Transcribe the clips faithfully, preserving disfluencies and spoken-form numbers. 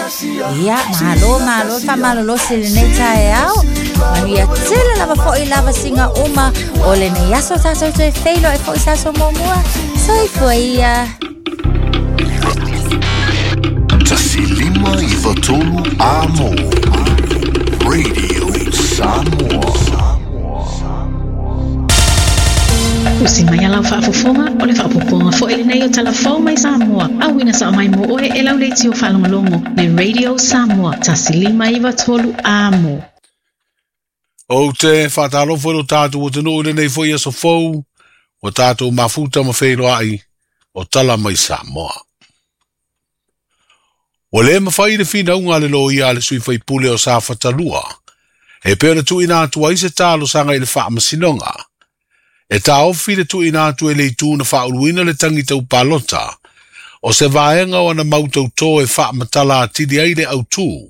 Ia, malo, malo, faamalolosi lenei taeao. Manuia tele lava foʻi lava siga uma o lenei aso tatou toe feiloai foʻi se aso muamua. Soifua ia. Tasi lima iwa tolu a mo. Radio Samoa. Usi mai a lau faafofoga o le faapopoga foʻi lenei o talafou mai Samoa. Auina sao mai mo oe e lau leitio faalogologo le Radio Samoa tasi lima iva tolu a mo. Ou te whaatalofo i lo tātou o te nuu i lenei foi aso fou, o tātou mafuta ma wheiloai o tala mai Samoa. Ua le mawhai le whinaunga le loia a le sui faipule o Safata lua, e pea le tuina atu ai se talosaga i le faamasinoga. E taofi le tuuina atu e le itu na faauluina le tagi tau palota, o se vaega o ana mau tautō e faamatala atili ai le autū,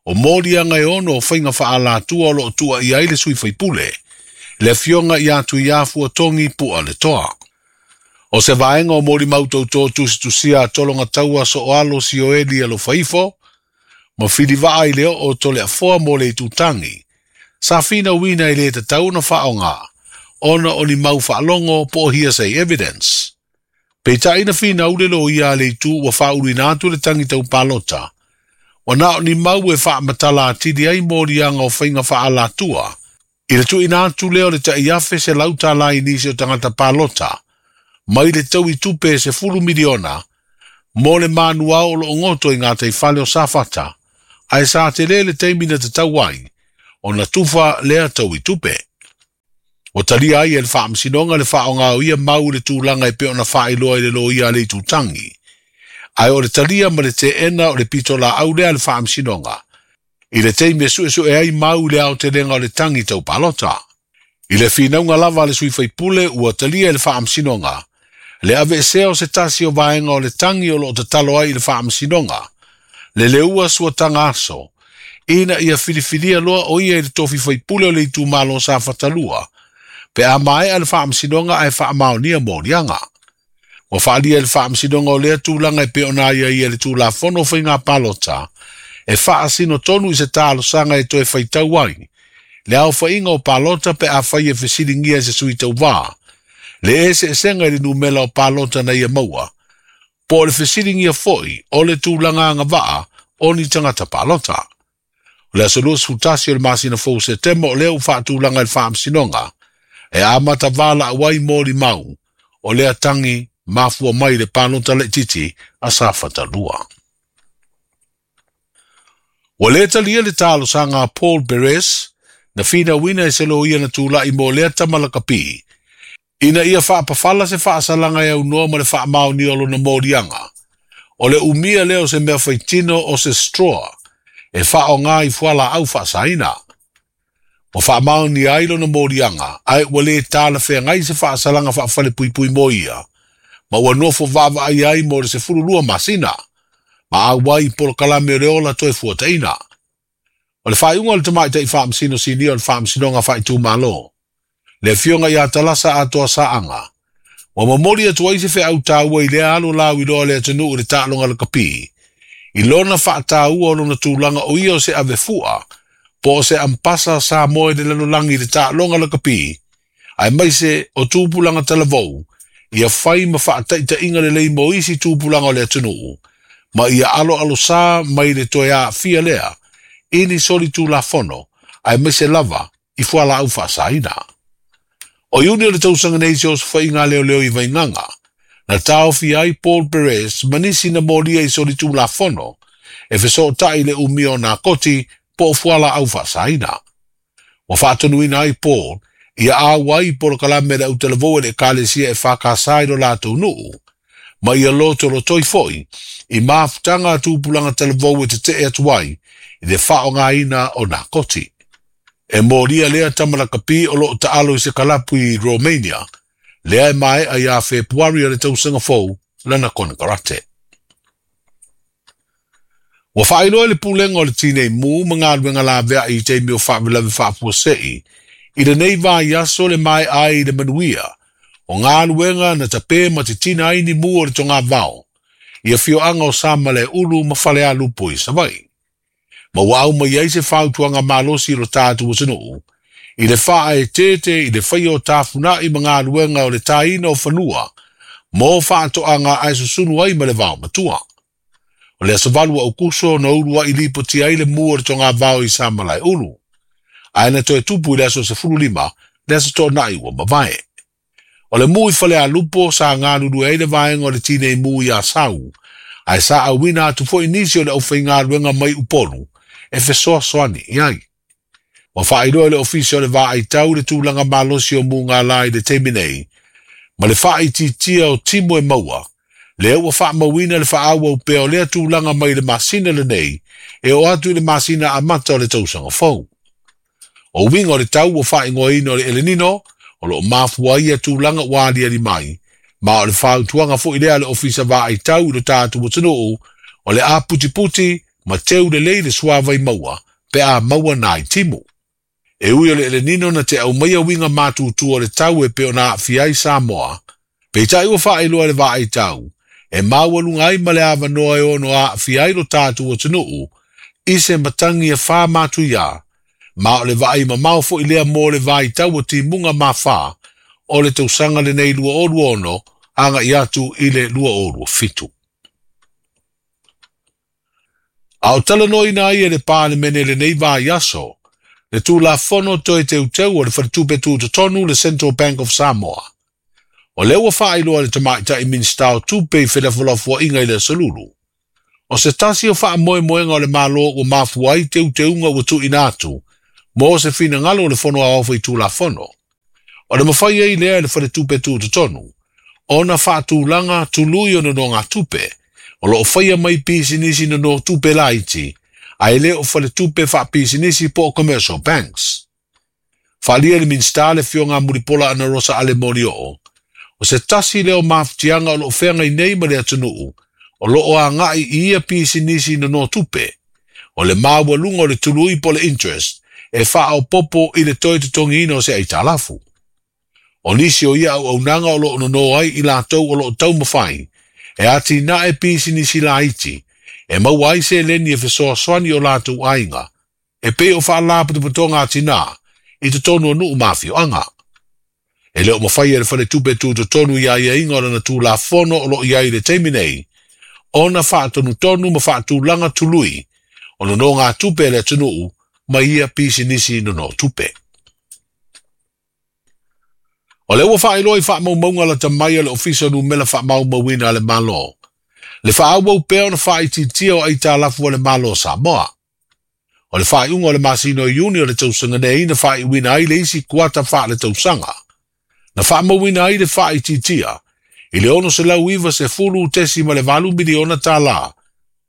o moliaga e ono o faiga faaalatua o loo tuuaia ai le sui faipule, le afioga ia Tuiafu Togi Pualetoa. O se vaega o molimau tautō tusitusia a tologa taua Soalo Sioeli Alofaifo, ma filivaa i le oo o Toleafoa mo le itutagi, sa finauina e lē tatau ona faaogā, ona o ni mau faalogo po o hearsay evidence. Peitai na finau le loia a le itu ua faauluina atu le tagi tau palota, ua na o ni mau e faamatala atili ai moliaga o faiga faaalatua, i le tuuina atu lea o le tai afe selau tālā i nisi o tagata palota, mai le tau i tupe e sefulu miliona, mo le manuao o loo goto i gataifale o Safata, ae sa telē le taimi na tatau ai, ona tufa lea tau i tupe. Ua talia ai e le faamasinoga le faaogā o ia mau i le tulaga e pei ona faailoa i le loia a le itutagi. Ae o le talia ma le teena o le pitolaau lea a le faamasinoga, i le taimi e suesue ai mau i le aotelega o le tagi tau palota. I le finauga lava a le sui faipule ua talia e le faamasinoga, le aveesea o se tasi o vaega o le tagi o loo tatalo ai i le faamasinoga, le leua suataga aso, ina ia filifilia loa o ia i le tofi faipule o le itumalo Safata lua, pe a maea le faamasinoga ae faamaonia moliaga. Ua faalia e le faamasinoga o lea tulaga e pei ona aiaia i le Tulafono o Faiga Palota, e faasino tonu i se talosaga e toe faitau ai le aofaiga o palota pe afai e fesiligia e se sui tauvā, le eseesega i le numera o palota na ia maua, po o le fesiligia foʻi o le tulaga agavaa o ni tagata palota. O le aso luasefulutasi o le masina fou Setema o lea ua faatulaga i le faamasinoga, e amata valaau ai molimau o lea tagi mafua mai i le palota laitiiti a Safata lua. Ua lē talia le talosaga a Paul Perez na finauina e se loia na tulaʻi mo lea tama lakapi, ina ia faapafala se faasalaga e aunoa ma le faamaonia o lona moliaga, o le umia lea o se mea faitino o se straw e faaogā i fualaau faasaina. Ua faamaonia ai lona moliaga, ae ua lē talafeagai se faasalaga faafalepuipui mo ia, ma ua nofo vaavaai ai mo le sefululua masina, ma auai i polokalame o le ola toe fuataʻina. O le faaiuga o le tamaitai faamasino sinia o le Faamasinoga Faaitumalo, le afioga ia Talasa Atoasaaga, ua momoli atu ai se feau taua i lea alo lauiloa o le atunuu i le taaloga lakapi, i lona faataua o lona tulaga o ia o se avefu'a po o se ampasa Samoa i le lalolagi i le taaloga lakapi, aemaise o tupulaga talavou, ia fai ma faataitaiga lelei mo isi tupulaga o le atunuu, ma ia aloalosā mai le toe aafia lea i ni solitulafono, aemaise lava i fualaau faasaina. O Iuni o le tausaga nei se osofaiga a leoleo i Vaigaga, na taofia ai Paul Perez ma nisi na molia i solitulafono e fesootai i le umia o nakoti po o fualaau faasaina. Ua faatonuina ai Paul ia auai i polokalame a le autalavou e le Ekalesia e F K S i lo latou nuu, ma ia lotolotoi foʻi i mafutaga a tupulaga talavou e tetee atu ai i le faaaogaina o nakoti. E molia lea tama lakapi o loo taalo i se kalapu i Romania, lea e maea ia Fepuari o le tausaga fou lana konekarate. Ua faailoa e le Pulega o le Tinei Mu ma Galuega Laveai i taimi o faalavelave faafuasei i lenei vaiaso le maea ai i le manuia o galuega na tapē ma titina ai ni mu o le togavao i afioaga o Samalaeulu ma Falealupo i Savaii. Ma ua aumaia ai se fautuaga malosi i lo tatou atunuu i le faaeteete i le faia o tafuna'i ma galuega o le tāina o fanua mo faatoaga ae susunu ai ma le vaomatua. O le aso valu o Aukuso na ulua'i lipoti ai le mu o le togavao i Samalaeulu, ae na toe tupu i le aso sefululima le aso toana'i ua mavae. O le mu i Falealupo sa galulue ai le vaega o le tinei mu i Asau, ae sa auina atu fo'i nisi o le aufaigaluega mai Upolu e fesoasoani i ai. Ua faailoa e le Ofisa o le Vaaitau le tulaga malosi o mugala i le taimi nei, ma le faaitiitia o timu e maua, lea ua faamauina le faaauau pea o lea tulaga mai le masina lenei e oo atu i le masina amata o le tausaga fou. O uiga o le tau ua faaigoaina o le El Nino, o loo mafua ai ia tulaga ua aliali mai, ma o le fautuaga fo'i lea a le Ofisa Vaaitau i lo tatou atunuu, o le aputiputi ma teu lelei le suavai maua pe a maua nai timu. E ui o le El Nino na te aumaia uiga matutua o le tau e pei ona aafia ai Samoa, peitai ua faailoa e le vaaitau, e maualuga ai ma le avanoa e ono aafia ai lo tatou atunuu i se matagi e wha matuia, ma o le vaai mamao fo'i lea mo le vaitau o timuga mafā o le tausaga lenei lua o lua ono aga'i atu i le lua o lua fitu. A o talanoaina ai e le Palemene lenei vaiaso, le Tulafono toe teuteu o le Faletupe Tutotonu le Central Bank of Samoa. O lea ua faailoa e le tamaitai Minisita o Tupe i felafolafoaiga i le aso Lulu. O se tasi o faamoemoega o le Malo ua mafua ai teuteuga ua tuuina atu mo se finagalo o le Fono Aoao Faitulafono. O le mafai ai lea e le Faletupe Tutotonu ona faatulaga tului o nonogatupe o loo faia mai pisinisi nonotupe laiti, ae le o faletupe faapisinisi po o commercial banks. Faaalia le Minisita le Afioga Mulipola Anarosa Ale Molioo, o se tasi lea o mafutiaga o loo feagai nei ma le atunuu o loo aga'i i ia pisinisi nonotupe, o le maualuga o le tului po o le interest e faaopopo i le toe totogiina o se aitalafu. O nisi o ia auaunaga o loo nono ai i latou o loo taumafai e atinae pisinisi laiti e maua ai seleni e fesoasoani o latou aiga e pei o faalapotopotoga atinā i totonu o nuu ma afioaga. E le o mafai e le Faletupe Tutotonu i aiaiga o lana Tulafono o loo i ai i le taimi nei ona faatonutonu ma faatulaga tului o nonogatupe a le atunuu ma ia pisinisi nonotupe. O le ua faailoa i faamaumauga lata mai a le Ofisa o Numela Faamaumauina a le Malo, le faaauau pea ona faaitiitia o aitalafu a le Malo o Samoa. O le faaiuga o le masina o Iuni o le tausaga nei na faaiuina ai le isi kuata faaletausaga, na faamauina ai le faaitiitia i le ono selau iva sefulu tesima le valu miliona tālā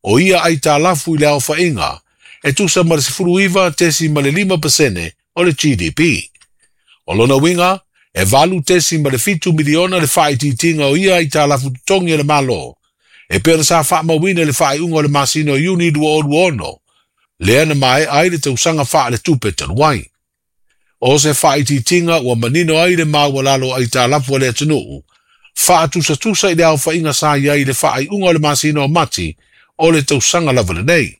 o ia aitalafu i le aofaiga e tusa ma le sefulu iva tesima le lima pasene o le G D P. O lona uiga e valu tesima le fitu miliona le faaitiitiga o ia aitalafu totogi e le Malo, e pei ona sa faamauina le faaiuga o le masina o Iuni lua o lua ono, lea na maea ai le tausaga faaletupe talu ai. O se faaitiitiga ua manino ai le maualalo o aitalafu a le atunuu, faatusatusa i le aofaiga sa i ai i le faaiuga o le masina o Mati o le tausaga lava lenei.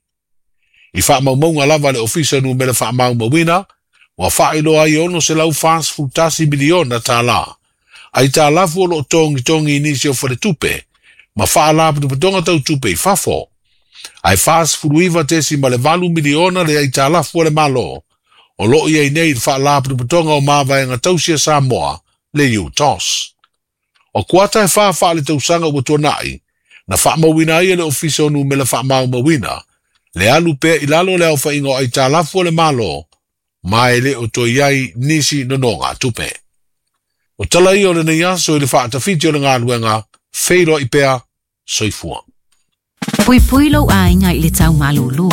I faamaumauga lava a le Ofisa o Numela Faamaumauina, ua faailoa ai e ono selau fasefulu tasi miliona tālā aitalafu o loo togitogi i nisi o faletupe ma faalapotopotoga tautupe i fafo, ae fasefulu iva tesima le valu miliona le aitalafu a le Malo o loo i ai nei i le faalapotopotoga o mavaega tausi a Samoa le U T O S. O kuata e wha wha le tausaga ua tuana'i, na faamauina ai e le Ofisa o Numela Faamaumauina, le alu pea i lalo le aofaiga o aitalafu a le Malo, ma e le o toe ai nisi nonogatupe. O tala ia o lenei aso i le faatafiti o le galuega, feiloai pea, soifua. Puipui lou aiga i le tau malūlū,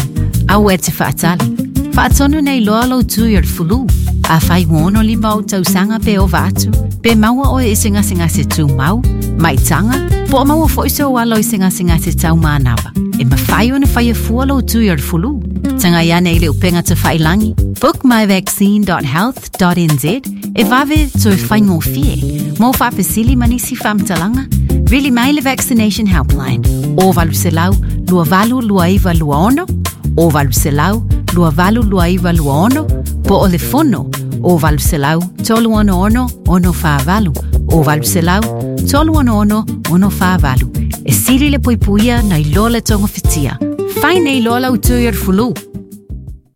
aua e te faatali. Faatonu nei loa lou tui o le fulu. Afai ua ono lima o tausaga pe ova atu, pe maua oe i se gasegase tumau, maitaga, po o maua fo'i sou alo i se gasegase taumanava. E mafai ona faia fua lou tui o le fulu. Tagai ane i le upega tafailangi, book my vaccine dot health dot n z e vave toe faigofie. Mo faafesili ma nisi faamatalaga, Vili mai le Vaccination Helpline o valu selau lua valu lua iwa lua ono, o valu selau lua valu lua iwa lua ono, po o le fono o valu selau tolu ono ono ono whaavalu, o valu selau tolu ono ono ono whaavalu. E sili le puipuia na iloa le tonga fitia. Fai nei loa lau tui ar fulu.